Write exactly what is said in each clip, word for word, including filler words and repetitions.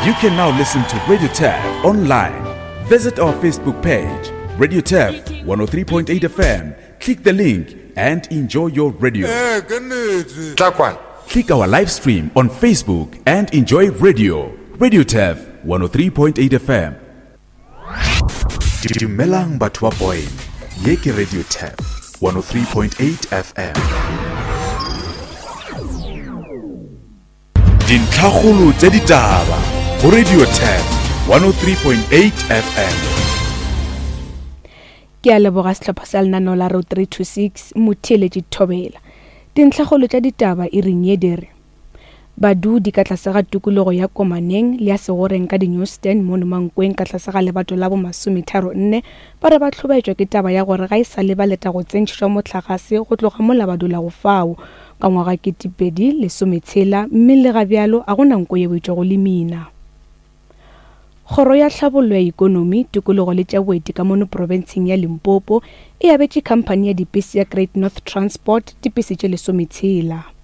You can now listen to Radio Turf online. Visit our Facebook page, Radio Turf one oh three point eight F M. Click the link and enjoy your radio. Click our live stream on Facebook and enjoy radio. Radio Turf one oh three point eight F M. Dumelang batho ba Boyne. Ye ke Radio Turf one oh three point eight F M. Dintlhakgolo tsa ditaba go Radio Turf one oh three point eight F M. Ke a leboga sehlopha sa lenaneo la Road three two six motheeletši Thobela. Dintlhakgolo tša ditaba e reng ye di re badudi ka tlase ga tikologo ya Komaneng le ya Segoreng ka di-Newsstand mono Mankweng ka tlase ga lebato la bo masometharo nne ba re ba hlobaetšwa ke taba ya gore ga e sa le ba leta go tsentšhišwa mohlagase go tloga mola ba dulago fao ka ngwaga ketepedi lesometshela mme le ga bjalo a gona nko yeo e tšwago le mina. Kgoro ya tlhabollo ya ikonomi, tikologo le tša boeti ka mono profenseng ya Limpopo e abetše khamphani ya dipese ya Great North Transport dipese tše lesometshela.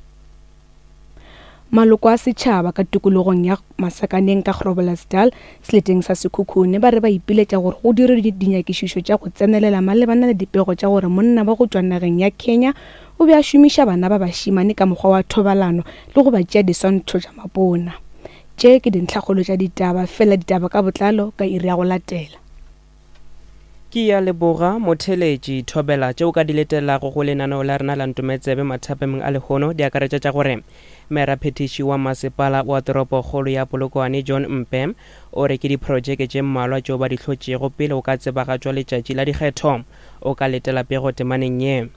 Maloko a setšhaba ka tikologong ya Masakaneng ka Groblersdal seleteng sa Sekhukhune ba re ba ipiletša gore go dirwe dinyakišišo tša go tsenelela malebana le dipego tša gore monna wa go tšwa nageng ya Kenya o be a šomiša bana ba bašemane ka mokgwa wa thobalano le go ba tšea diswantšho tša mapona. Tše ke dintlhakgolo tša ditaba, fela ditaba ka botlalo ka iri ya go latela. Ke ya leboga motheeletši Thobela tšeo ka di letelago go lenaneo la rena la Ntometsebe mathapemeng a lehono di akaretša tša gore mmeraphethiši wa masepala wa toropokgolo ya Polokwane John Mpe o re ke diprojeke tše mmalwa tšeo ba di hlotšego pele o ka tsebagatšwa letšatši la dikgetho. O ka letela pego temaneng ye.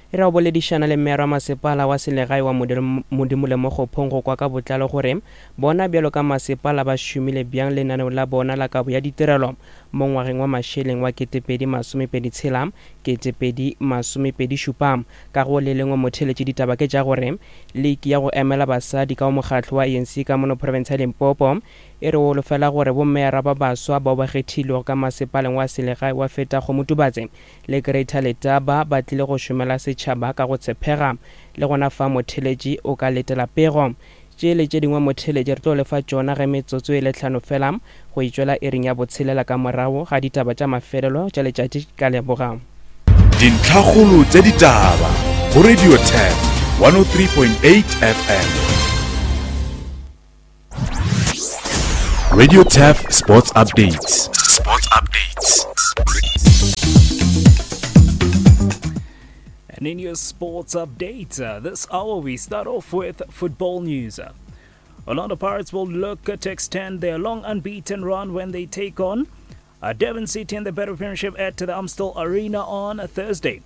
Re a boledišana le mmera wa masepala wa selegae wa Modimo le Mokgophong go kwa ka botlalo gore bona bjalo ka masepala ba šomile bjang lenaneo la bona la kabo ya ditirelo mo ngwageng wa mašeleng wa ketepedi masomepedi tshela ketepedi masomepedi šupa. Ka go le lengwe motheeletši ditaba ke tša gore liki ya go emela basadi ka mokgatlo wa A N C ka mono province ya Limpopo e re holofela gore bommera ba baswa bao ba kgethilwego ka masepaleng wa selegae wa feta Kgomotubatse le Greater Letaba ba tlile go šomela setšhaba ka go tshepega. Le gona fa motheeletši o ka letela pego. Tše le tše dingwe motheeletši re tlo lefa tšona ge metsotso e le hlano fela go itšwela iring ya botshelela ka morago ga ditaba tša mafelelo tša letšatši. Ka leboga. Dintlhakgolo tša ditaba go Radio Turf one oh three point eight F M. Radio Turf Sports Updates. Sports Updates. And in your sports update, uh, this hour we start off with football news. Orlando Pirates will look to extend their long unbeaten run when they take on uh, Devon City in the Better Premiership at the Amstel Arena on Thursday.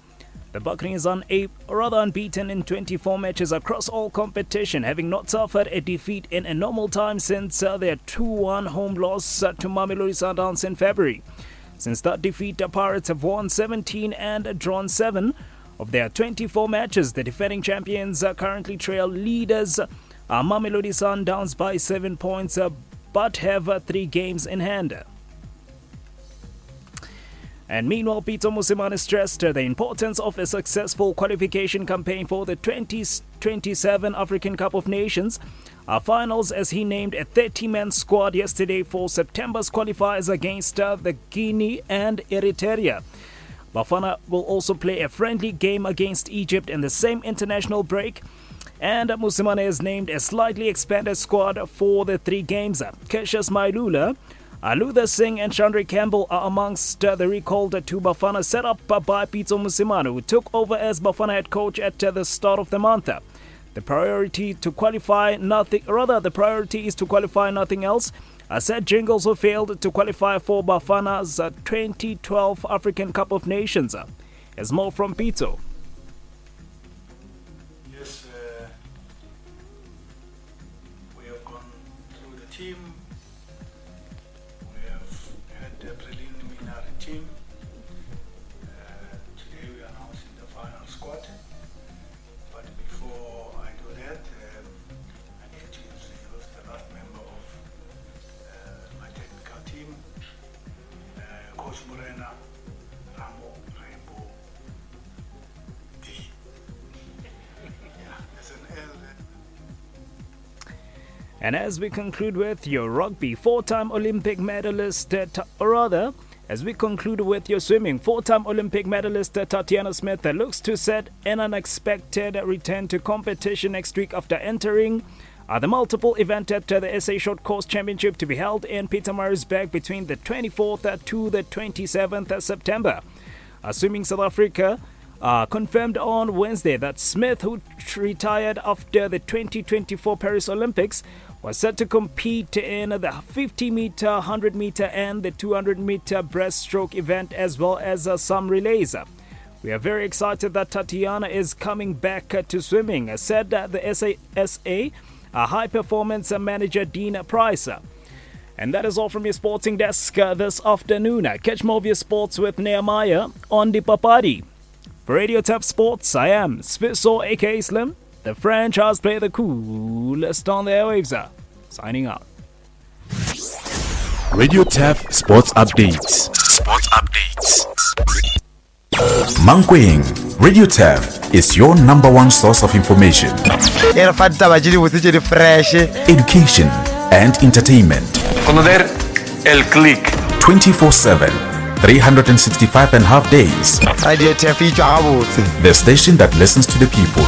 The Buccaneers are a, rather unbeaten in twenty-four matches across all competition, having not suffered a defeat in a normal time since uh, their two one home loss uh, to Mamelodi Sundowns in February. Since that defeat, the Pirates have won seventeen and drawn seven of their twenty-four matches. The defending champions uh, currently trail leaders uh, Mamelodi Sundowns by seven points, uh, but have uh, three games in hand. And meanwhile, Pitso Mosimane stressed the importance of a successful qualification campaign for the twenty twenty-seven African Cup of Nations uh, finals, as he named a thirty-man squad yesterday for September's qualifiers against uh, the Guinea and Eritrea. Bafana will also play a friendly game against Egypt in the same international break. And Mosimane has named a slightly expanded squad for the three games. Cassius Mailula, Luther Singh and Chandra Campbell are amongst the recalled to Bafana set up by Pitso Mosimane, who took over as Bafana head coach at the start of the month. The priority to qualify nothing, rather the priority is to qualify nothing else. Said Jingles, who failed to qualify for Bafana's twenty twelve African Cup of Nations. There's more from Pitso. Yes, uh, we have gone through the team. We have had the preliminary team. Uh, today we are announcing the final squad. But before I do that, um, I need to introduce the last member of uh, my technical team, uh, Coach Morena Ramo Rainbow D. Yeah, there's an L there. And as we conclude with your rugby, four time Olympic medalist, uh, or rather, as we conclude with your swimming, four time Olympic medalist uh, Tatjana Smith uh, looks to set an unexpected return to competition next week after entering uh, the multiple event at uh, the S A Short Course Championship to be held in Pietermaritzburg between the twenty-fourth to the twenty-seventh of September. Uh, Swimming South Africa uh, confirmed on Wednesday that Smith, who retired after the twenty twenty-four Paris Olympics, was set to compete in the fifty meter, hundred meter, and the two hundred meter breaststroke event, as well as, uh, some relays. We are very excited that Tatjana is coming back, uh, to swimming, uh, said, uh, the S A S A, uh, high performance manager Dean Price. And that is all from your sporting desk, uh, this afternoon. Uh, catch more of your sports with Nehemiah on the Papadi. For Radio Turf Sports, I am Sfiso, aka Slim, the franchise player, the coolest on the airwaves. Uh, signing out. Radio Turf Sports Updates. Sports Updates. Mankweng, Radio Turf is your number one source of information, E re fa ditaba tše dibotse tše di fresh, education, and entertainment. Conocer el click. twenty-four seven, three hundred and sixty-five and a half days. Radio Turf e tšwa gabotse. The station that listens to the people.